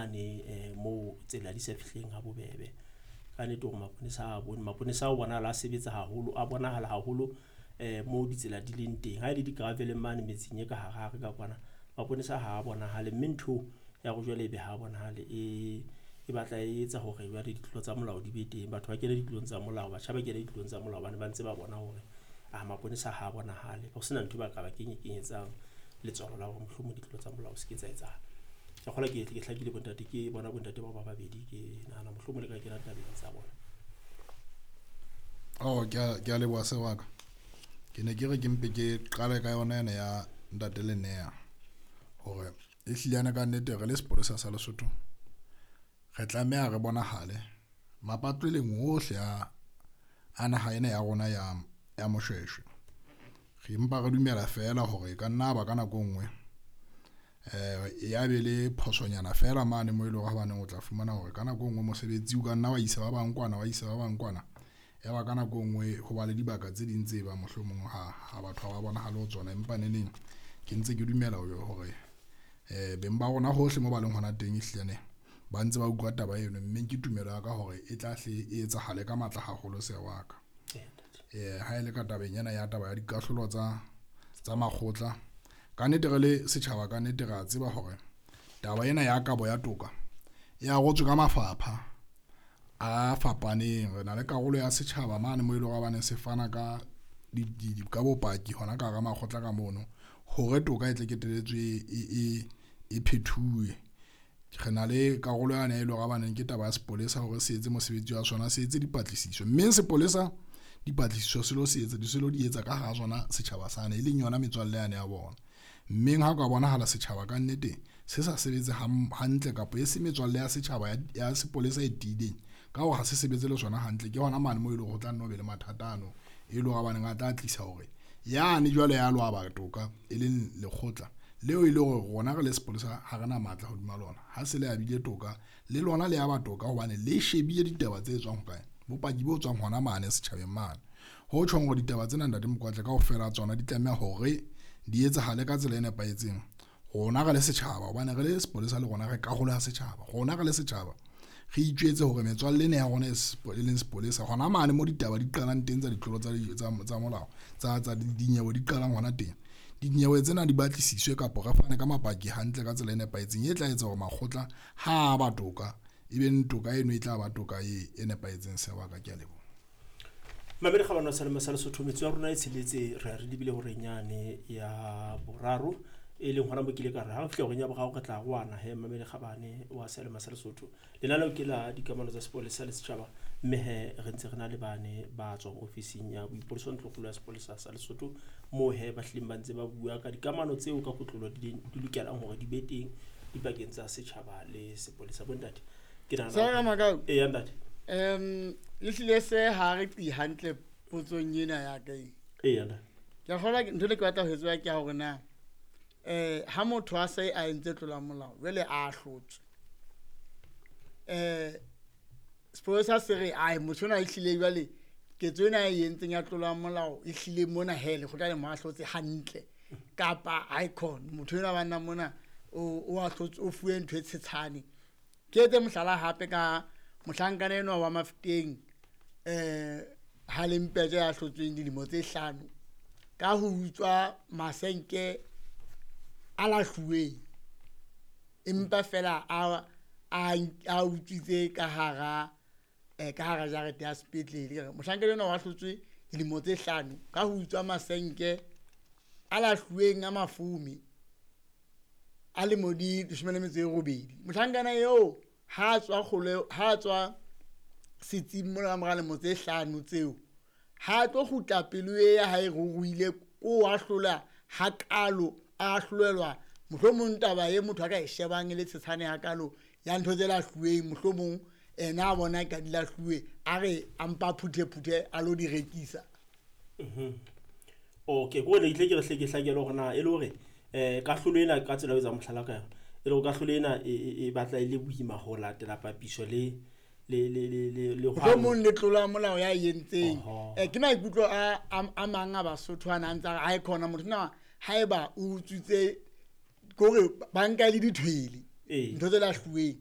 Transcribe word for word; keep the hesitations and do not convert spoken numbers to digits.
mane eh, moo tsela di sa fihleng ha bobebe. Ka nnete hore maponesa a bone, maponesa a bonahala a sebetsa haholo, a bonahala haholo eh moo ditsela di leng teng. Ha e le di-gravel-eng mane metseng e ka hare hare ka kwana, maponesa ha a bonahale, mme ntho ya hore jwale ebe ha bonahale e e batla e etsa hore jwale ditlolo tsa molao di be teng. Batho ba kene ditlolong tsa molao, batjha ba kene ditlolong tsa molao hobane ba ntse ba bona hore ah maponesa ha bonahale, ho sena ntho ba ka ba kenye-kenyetsang letswalo la hore mohlomong ditlolo tsa molao se ke tsa etsahala. Ke kgolwa ke ke hlakile bontate, ke bona bontate bao ba babedi, ke nahana mohlomong le ka kena tabeng tsa bona. Oh, ke a ke a leboha se wa ka. Ke ne ke re ke mpe ke qale ka yona ena ya ntate Lenea hore ehlile yana ka nnete re le sepolesa sa Lesotho re tlameha re bonahale mapatleleng ohle a a naha ena ya rona ya ya Moshweshwe. Re mpa re dumela feela hore e ka nna ba ka nako e nngwe eh ya be le phosonyana feela mane mo e leng hore hobaneng o tla fumana hore ka nako e nngwe mosebetsi o ka nna wa isa ba bang kwana, wa isa ba bang kwana. Ya ba ka nako e nngwe ho ba le dibaka tse ding tse bang mohlomong ha ha batho ha ba bonahale ho tsona, empa neneng ke ntse ke dumela hore eh beng ba rona hohle mo ba leng hona teng ehlile ba ntse ba utlwa taba eno, mme ke tumelo ya ka hore e tla hle e etsahale ka matla haholo se wa ka. Eh ha e le ka tabeng ena ya taba ya dikahlolo tsa tsa makgotla, ka nnete re le setjhaba, ka nnete re a tseba hore taba ena ya kabo ya toka e arotswe ka mafapha a fapaneng. Re na le karolo ya setjhaba mane mo e leng hore hobaneng se fana ka di ka bopaki hona ka hara makgotla ka mono hore toka e tle keteletswe e e e phethuwe. Re na le karolo yane e leng hore hobaneng ke taba ya sepolesa hore se etse mosebetsi wa sona, se etse dipatlisiso, mme sepolesa dipatlisiso se lo se etsa di se lo di etsa ka hara sona setjhaba sane, e leng yona metswalle yane ya bona. Mmeng ha o ka bonahala setjhaba ka nnete se sa sebetse hantle kapa e se metswalle ya setjhaba ya sepolesa e tiileng ka hore ha se sebetse le sona hantle, ke hona mane moo e leng hore ho tla nne ho be le mathata ano e leng hore hobaneng a tla tlisa hore yane jwale ya lo aba toka e leng lekgotla leo e le hore rona re le sepolesa ha re na matla hodima lona. Ha se le abile toka le lona le aba toka hobane le shebile ditaba tse tswang hokae, bopaki bo tswang hona mane setjhabeng mane. Ho tjhong hore ditaba tsena ntate Mokoatle kaofela tsona di tlameha hore di etsahale ka tsela e nepahetseng. Rona re le setjhaba, hobane re le sepolesa le rona re karolo ya setjhaba, rona re le setjhaba re itjwetse hore metswalle ena ya rona e leng sepolesa hona mane mo ditaba di qalang teng tsa ditlolo tsa tsa molao tsa tsa dinyewe di qalang hona teng, dinyewe tsena di batlisiswe kapa re fane ka mapaki hantle ka tsela e nepahetseng e tla etsa hore makgotla ha ba toka e be toka eno e tla ba toka e e nepahetseng. Se wa ka, ke a leboha. Mamedi kgabane wa Salema sa Lesotho, metso ya rona e tsheletse re re lebile horeng yane ya boraro, e leng hona mo ke ile ka re ha re fihla horeng ya boraro re tla roana he. Mamedi kgabane wa Salema sa Lesotho, lenaneo ke la dikamano tsa sepolesa le setjhaba, mme he re ntse re na le bane ba tswang ofising ya boipolesa ntlokgolo ya sepolesa sa Lesotho, moo he ba hlileng ba ntse ba bua ka dikamano tseo ka kotlolo di di lokelang hore di be teng dipakeng tsa setjhaba le sepolesa. Bontate, ke nahana Sa e ya ntate. Um le hlile se ha re qi hantle potsong ena ya ka e. E ya ntate. Ke kgolwa ntho le ke batla ho e tseba ke ya hore na eh ha motho a se a entse tlola molao jwale a hlotswe, eh sepolesa se re ai motho ona e hlile jwale ketso ena e entseng ya tlola molao e hlile mona he lekgotla le mo ahlotse hantle, kapa icon motho ena banna mona o o ahlotse o fuwe ntho e tshetshane. Ke etse mohlala hape ka mohlankana enwa wa Mafeteng eh ha le Mpeje ya hlotsweng dilemo tse hlano ka ho utswa masenke a lahluweng, empa fela a a a utswitse ka hara eh ka hara jarete ya sepetlele. Mohlankana enwa wa hlotswe dilemo tse hlano ka ho utswa masenke a lahluweng a mafome a lemo di leshome le metso e robedi. Mohlankana eo ha tswa kgole ha tswa setsing mona ka mora lemo tse hlano tseo, ha tlo kgutla pelo e ya hae ruruhile ko a hlola hakalo a hlolelwa mohlomong taba e motho a ka e shebang e le tshetshane hakalo ya ntho tse lahluweng, mohlomong ena a bona ka di lahluwe a re a mpa phuthe phuthe a lo di rekisa. Okay, ko ne ke tle ke re hle ke hlakele hore na e le hore eh kahlolo ena ka tsela eo etsang mohlala ka yona, e le hore kahlolo ena e batla e le boima ho latela papiso le le le le le le mohlomong le tlola molao ya entseng. Eh ke maikutlo a a mang a Basotho ana a ntse a re khona motho na haeba o utswitse kore ba nka le dithwele ntho tse lahluweng.